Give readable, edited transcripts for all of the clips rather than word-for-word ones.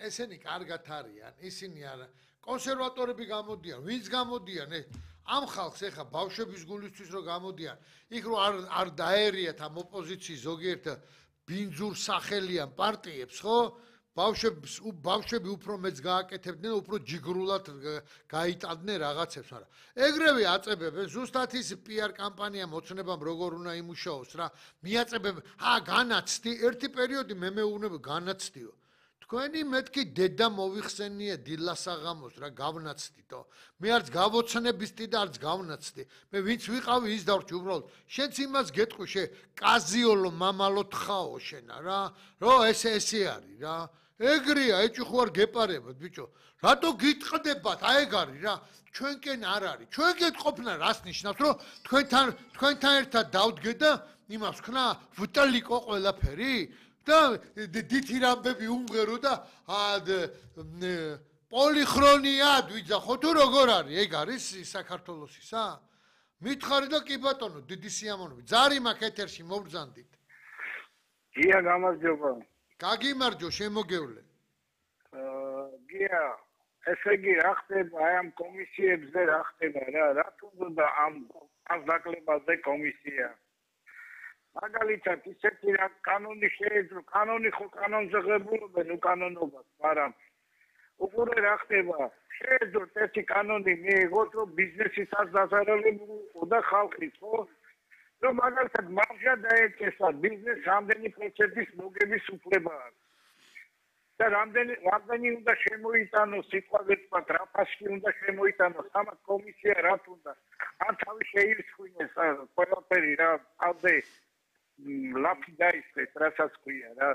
ესენი კარგად არიან, ისინი არა. კონსერვატორები გამოდიან, ვინც გამოდიან, ამ ხალხს ეხა ბავშვების გულისთვის რო გამოდიან, იქ რო არ დაერიათ ამ ოპოზიციის ზოგიერთ ბინძურ სახელიან პარტიებს, ხო? ბავშვები უფრო მეც გააკეთებდნენ, უფრო ჯიგრულად გაიტანდნენ რაღაცებს, მაგრამ ეგრევე აწებებენ, ზუსტად ის PR კამპანია მოცნებამ როგორ უნდა იმუშაოს რა, მიაწებებენ, განაცდი, ერთი პერიოდი მე მეუბნები განაცდიო. თქვენი მეთქი დედა მოიხსენია დილას აღამოს რა გავნაცდითო. მე არც გავოცნებისდი და არც გავნაცდი. მე ვინც ვიყავი ის დავრჩი უბრალოდ. შენც იმას გეტყვი კაზიოლო მამალო თხაო შენა რა. რო ესე არის რა. ეგრეა, ეჭი ხო არ გეპარებათ ბიჭო. რატო გიტყდებათ? აი ეგ არის რა. ჩვენკენ არ არის. ჩვენ გეტყოფნა რას ნიშნავს, რომ თქვენთან ერთად დავდგე და იმას ვქნა ვტლიკო ყველაფერი? და დითი რამბები უმღერო და პოლიხრონიად ვიძახო თუ როგორ არის? ეგ არის საქართველოსისა? მითხარი და კი ბატონო, დიდი სიამოვნებით. ზარი მაქვს ეთერში მოვბრძანდით. გია გამარჯობა. გაგიმარჯო შემოგევლე. გია, ესე იგი რა ხდება აი ამ კომისიებზე რა ხდება რა? რა თუნდა ამ დაკლებაზე კომისია? მაგალითად ისეთი რა კანონი შეეძლო, კანონი ხო კანონზე ღებულობენ უკანონობას, მაგრამ უყურე რა ხდება? შეეძლო ესეთი კანონი მიიღოთ, რომ ბიზნესის არ დაზარალებულიყო და ხალხის ხო? რომ მაგალითად მარჟა დაეჭესა ბიზნეს რამდენი პროცენტის მოგების უფლება აქვს. და რამდენი უნდა შემოიტანოს სიტყვაზე თქვა რა ფასში უნდა შემოიტანოს ამათ კომისია რა თუნდა არ თავი შეირჩხინეს ყველაფერი რა ავდე ლაფი დაისწრეს რასაც ქვია რა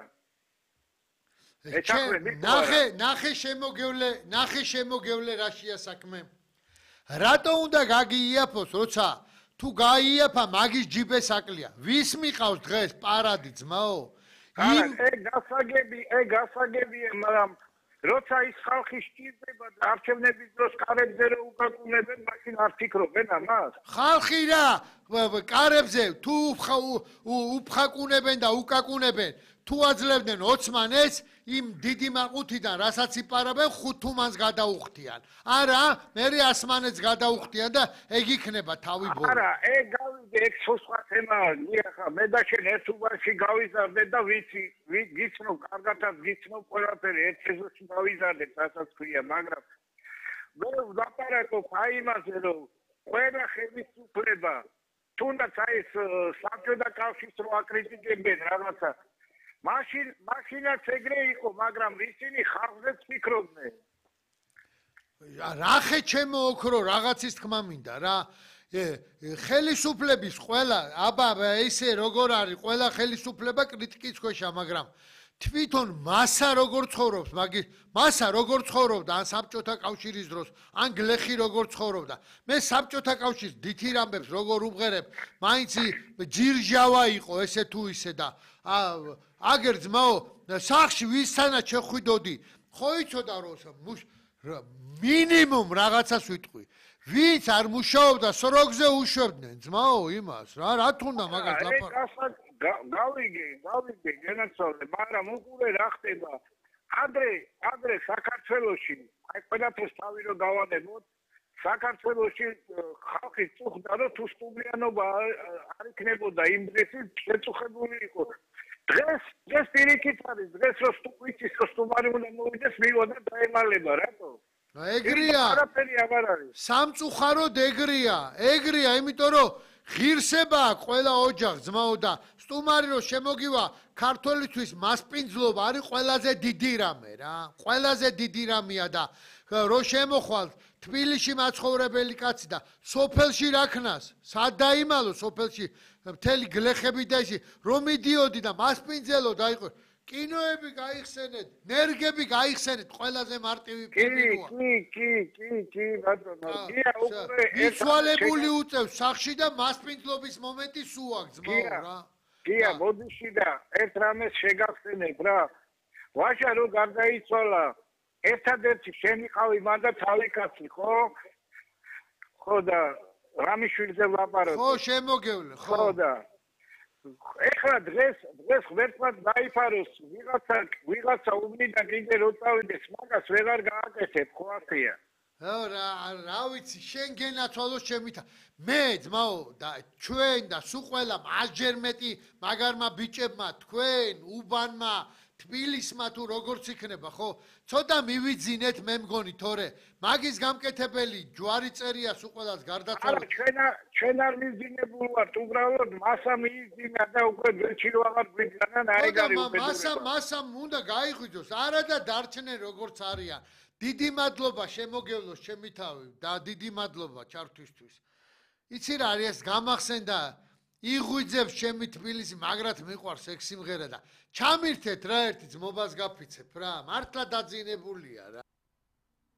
ნახე შემოგევლე რაშია საქმე რატო უნდა გაგიიაფოს როცა თუ გაიაფა მაგის ჯიბეს აკლია ვის მიყავს დღეს პარადი ძმაო ეგ გასაგებია მაგრამ როცა ის ხალხი სჭირდება და არჩევნების დროს კარებზე რო უკაკუნებენ მაშინ არ ფიქრობენ ამას ხალხი რა კარებზე თუ უფხაკუნებენ და უკაკუნებენ თუ აძლევდნენ ოცმანეს იმ დიდი მაყუთიდან რასაც იპარებენ ხუთუმანს გადაუხდიან არა მე ასმანეთს გადაუხდიან და ეგ იქნება თავი ბოლო არა ეგ გავიგე ეგ სხვა თემაა ხა მე და შენ ერთ უბანში გავიზარდეთ და ვიცი გიცნობ კარგადაც გიცნობ ყველაფერი ერთ სეზონში გავიზარდეთ რასაც ქვია მაგრამ მე ვაპარაკობ აი იმაზე რომ ყველა ხელისუფლება თუნდაც აი ეს საბჭოთა კავშირს რო აკრიტიკებენ რაღაცა მაშინაც ეგრე იყო, მაგრამ ისინი ხალხზეც ფიქრობდნენ. რახე ჩემო ოქრო რაღაცის თქმა მინდა რა. ხელისუფლების ყველა აბა ესე როგორ არის, ყველა ხელისუფლება კრიტიკის ქვეშა, მაგრამ თვითონ მასა როგორ ცხოვრობს, მასა როგორ ცხოვრობდა ან საბჭოთა კავშირის დროს, ან გლეხი როგორ ცხოვრობდა. მე საბჭოთა კავშირის დითი რამბებს როგორ უმღერებ, მაინც ჯირჟავა იყო ესე თუ ისე და აგერ ძმაო, სახში ვისთანაც შეხვიდოდი, ხო იცოდა რომ მინიმუმ რაღაცას ვიტყვი. ვინც არ მუშაობდა, სროგზე უშვებდნენ ძმაო იმას, რა თუნდა მაგას ლაპარაკობ. გავიგე, გენაცვალე, მაგრამ უყურე რა ხდება. ადრე საქართველოში, აი ყველაფერს თავი რო გავანებოთ, საქართველოში ხალხი წუხდა, რომ თუ სტუმრიანობა არ იქნებოდა იმ დღესაც შეწუხებული იყო. დღეს პირიქით არის, დღეს რო სტუმრის სტუმარი უნდა მოვიდეს, მივიდა და დაემალება, რატო? ეგრეა. არაფერი აღარ არის. სამწუხაროდ ეგრეა, იმიტომ რომ ღირსება აქვს ყველა ოჯახს ძმაო და სტუმარი რო შემოგივა ქართველისთვის მასპინძლობა არის ყველაზე დიდი რამე რა. ყველაზე დიდი რამეა და რო შემოხვალ თბილისში მაცხოვრებელი კაცი და სოფელში რაქნას, სად დაიმალო სოფელში მთელი გლეხები და ისი რომ მიდიოდი და მასპინძელო დაიყო კინოები გაიხსენეთ, ნერგები გაიხსენეთ, ყველაზე მარტივი ფილმია. კი, ბატონო. გია უკვე მიცვალებული უწევს სახში და მასპინძლობის მომენტი სულ აქვს ძმაო რა. გია, მოდიში და ერთ რამეს შეგახსენებ რა. ვაჟა რო გარდაიცვალა, ერთადერთი შემიყავი მან და თავი კაცი, ხო? ხო და რამიშვილზე ვაპაროთ. ხო, შემოგევლე, ხო და ეხლა დღეს ღმერთმაც დაიფაროს ვიღაცა უბნიდან კიდე რო წავიდეს მაგას ვეღარ გააკეთებ ხო ახია რა ვიცი შენ გენაცვალოს შემითა მე ძმაო და ჩვენ და სულ ყველა მასჯერ მეტი მაგარმა ბიჭებმა თქვენ უბანმა თბილისმა თუ როგორც იქნება ხო ცოტა მივიძინეთ მე მგონი თორე მაგის გამკეთებელი ჯვარი წერია სულ ყველას გარდაცვალოთ ჩვენ არ მიზინებულ ვართ უბრალოდ მასა მიიძინა და უკვე ბეჭი რო აღარ გვიძანა აიგარი უკვე მასამ უნდა გაიღვიძოს არა და დარჩნენ როგორც არიან დიდი მადლობა შემოგევლოს ჩემი თავი და დიდი მადლობა ჩართვისთვის იცი რა არის გამახსენდა იღვიძებს ჩემი თბილისი მაგრად მიყვარს ეგ სიმღერა და ჩამირთეთ რა ერთი ძმობას გაფიცებ რა მართლა დაძინებულია რა